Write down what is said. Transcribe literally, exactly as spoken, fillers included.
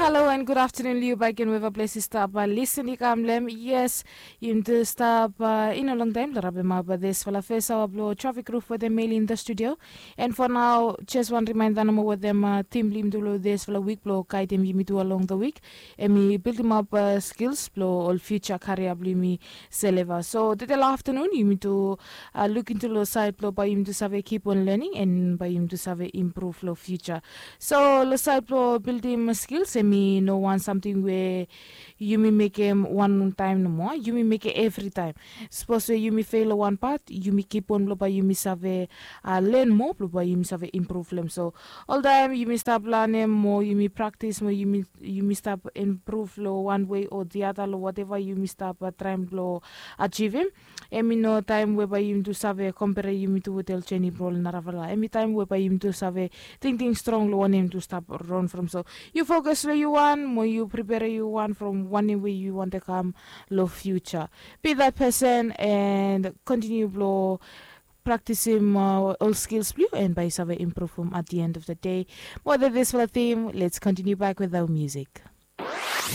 Halo and gud aftanun long yu baik gen weva ples i stap lisin i kam long em. Yes, yumi tu stap i no longtaim long rabemap disfala fes aoa blong trafik ruf wetem meli in da studio. And fo nao jes wan rimainda nomo wetem tim blong yumi tu long disfala wik blong gaidim yumi tu along da wik, em i bildimap skils blong ol fiuja karia blong yumi seleva. So tede long aftanun yumi tu lukim tu long sait blong bae yumi tu save kip on lening and bae yumi tu save impruv long fiuja. So long sait blong bildim skils em i no wan samting we yumi mekem wan taim nomo, yumi mekem evritaim. Sapos we yumi fel long wan pat, yumi kipon blong bae yumi save len moa blong bae yumi save impruv long em. So oltaim yumi stap lanem mo yumi praktis mo yumi stap impruv long wan wei o diada long wateva yumi stap traim blong ajivim. Em i no taim we bae yumi tu save kompere yumi tu wetem ol jeni bro long narafala. Em i taim we bae yumi tu save tingting strong long wanem yumi tu stap ron from. So yu fokus long yu wan mo yu pripere yu wan from wanem we yu wantem kam long fiuja. Be that person and kontiniu blong praktisim ol skils blong yu and bae yu save impruvim at the end of the day. Mo that disfala tim, let's continue back with our music.